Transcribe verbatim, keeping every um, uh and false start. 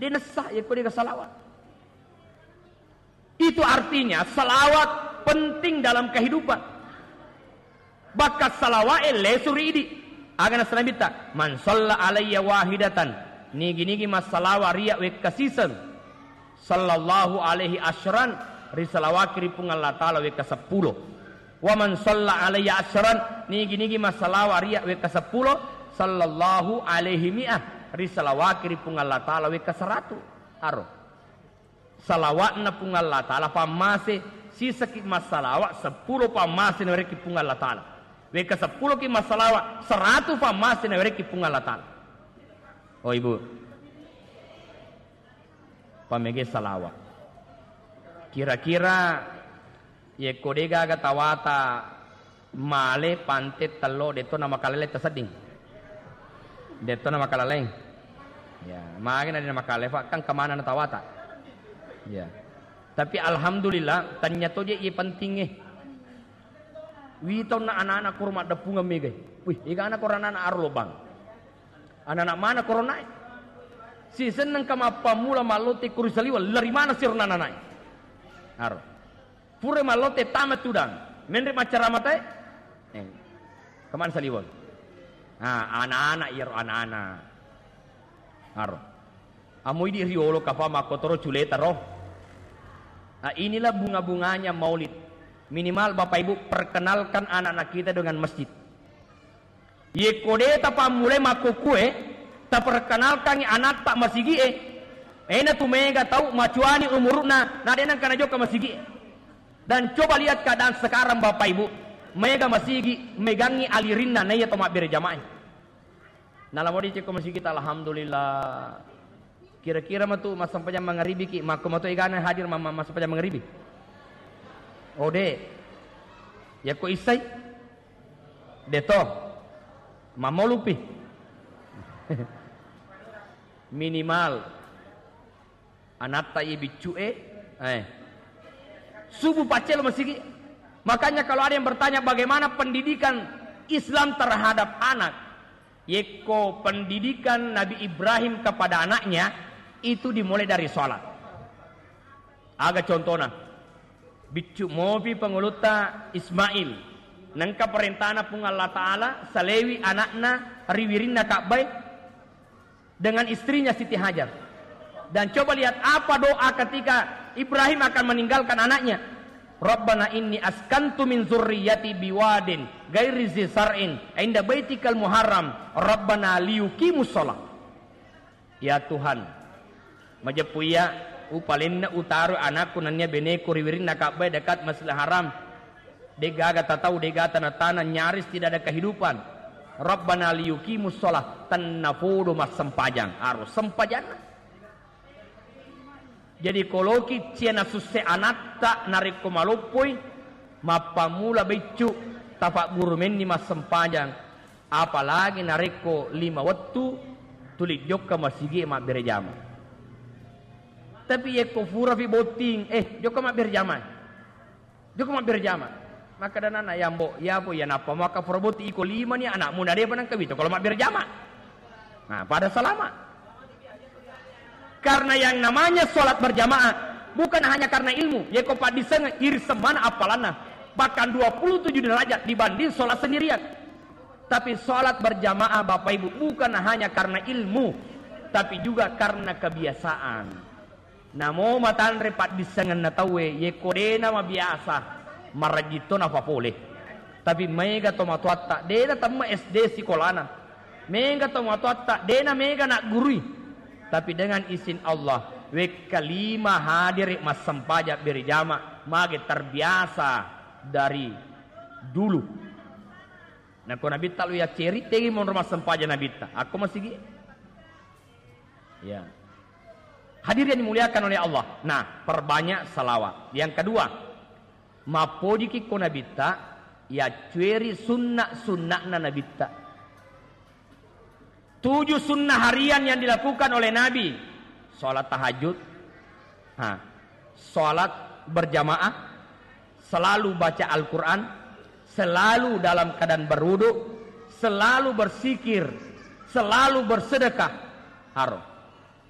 De'na sah yekko de'ga salawat. Itu artinya salawat penting dalam kehidupan. Bakka salawa'e lesu ri idi. Aga naseng Nabitta, "Man shalla alayya wahidatan," nigi-nigi massalawa ri iyya wekka siseng, "sallallahu alaihi asyran," risalawaki ri Puang Allah Taala wekka seppulo. "Wa man shalla alayya asyran," nigi-nigi massalawa ri iyya wekka seppulo, "sallallahu alaihi mi'ah," risalawaki ri Puang Allah Taala wekka seratu. Aro. Salawa'na Puang Allah Taala pammase, sisaki massalawa seppulo pammase nawerekki Puang Allah Taala. Wekka seppuloki massalawa, seratu pammase nawerekki Puang Allah Taala. Oh, Ibu. Pamege salawa. Kira-kira yekko de'gaga tawata male pante tello, de'to namakalele tasedding. De'to namakalele. Ya, magi na de'na makalele, Pak, kan kemana na tawata. Ya. Tapi alhamdulillah, tanya to je iye pentingnge. Witaunna anak-anak koro maddeppungeng megai. Wih, egana koro anak-anak aro lobang. Anak-anak mana koro nae? Sisenneng ka mappammula mallote koro saliweng, lari mana siro anak-anak nae? Aro. Pura mallote tama tudang. Menre maccaramatae? Eh. Kemana saliweng? Ah, anak-anak iyaro anak-anak. Aro. Amo idi riolo kapa makkotoro culeta ro. Nah, inilah bunga-bunganya maulid. Minimal Bapak Ibu perkenalkan anak-anak kita dengan masjid. Yekko de tapammulai makkukkue, taperkenalkangngi anatta masigi'e. Ena tu mega tau macuani umuru'na, na de nengka najokka masigi'e. Dan coba lihat keadaan sekarang Bapak Ibu, mega masigi, megangngi alirinna naiya to mabbere jamaah. Nalamo dicekko masigi ta, alhamdulillah. Kira-kira matu massempajang mangaribiki, makko matu egana hadir ma-, ma-, massempajang mangaribi? Oh, de. Yakko issai? Deto. Mammolupi. Minimal. Anatta iye biccu'e, eh. Subuh paccelo masigi. Makanya kalau ada yang bertanya bagaimana pendidikan Islam terhadap anak, yekko pendidikan Nabi Ibrahim kepada anaknya itu dimulai dari sholat. Aga contona, biccu mopi pangulutta Ismail, nengka perintana Puang Allah Ta'ala, salewi anakna ri wirinna Ka'bae, dengan istrinya Siti Hajar. Dan coba lihat apa doa ketika Ibrahim akan meninggalkan anaknya. "Rabbana inni askantu min zurriyati biwadin ghairi zi sar'in inda baitikal muharram. Rabbana liyuqimus shalah." Ya Tuhan, majeppu iya upalenna utaro anakku nennia beneku ri wirinna Ka'bae dekat Masjidil Haram. De'gaga tatau, de'gaga tana-tana, nyaris tidak ada kehidupan. Rabbana liyuqimus shalah, tennapodo massempajang. Aro sempajanna. Jadi koloki cia nasusse anatta narekko maloppoi, mappammula beccu, tapaggurumenni massempajang. Apalagi narekko lima wettu tuli jokka masigi mabbere jama. Tapi yekko furafi botting, eh, jokka mabbere jama. Jokka mabbere jama. Makkeda anana, "Ya, Mbo, ya, Mbo, ya, nappa maka fura botting iko lima ni anakmu, nadepa nengka wito kalau mabbere jama." Nah, pada salama. Karena yang namanya sholat berjamaah bukan hanya karena ilmu. Yeko paddiseng iri semana appalanna. Bahkan dua puluh tujuh derajat dibanding sholat sendirian. Tapi sholat berjamaah, Bapak Ibu, bukan hanya karena ilmu, tapi juga karena kebiasaan. Namo matanre paddissengenna tauwe, yeko dena mabiasa, marajitto napapole. Tapi maega tomatoatta, dena temme S D sikolana. Mega tomatoatta, dena mega naggurui. Tapi dengan izin Allah, wekka lima hadiri massempajang berjamaah, mage terbiasa dari dulu. Nako Nabitta lo yacceri, tegi monro massempajang Nabitta. Akko masigi? Ya. Hadir yang dimuliakan oleh Allah. Nah, perbanyak salawat. Yang kedua, mappojiki ko Nabitta, yaccueri sunna-sunna'na Nabitta. Tujuh sunnah harian yang dilakukan oleh Nabi. Sholat tahajud. Ha. Sholat berjamaah. Selalu baca Al-Quran. Selalu dalam keadaan berwudu. Selalu bersikir. Selalu bersedekah. Haro.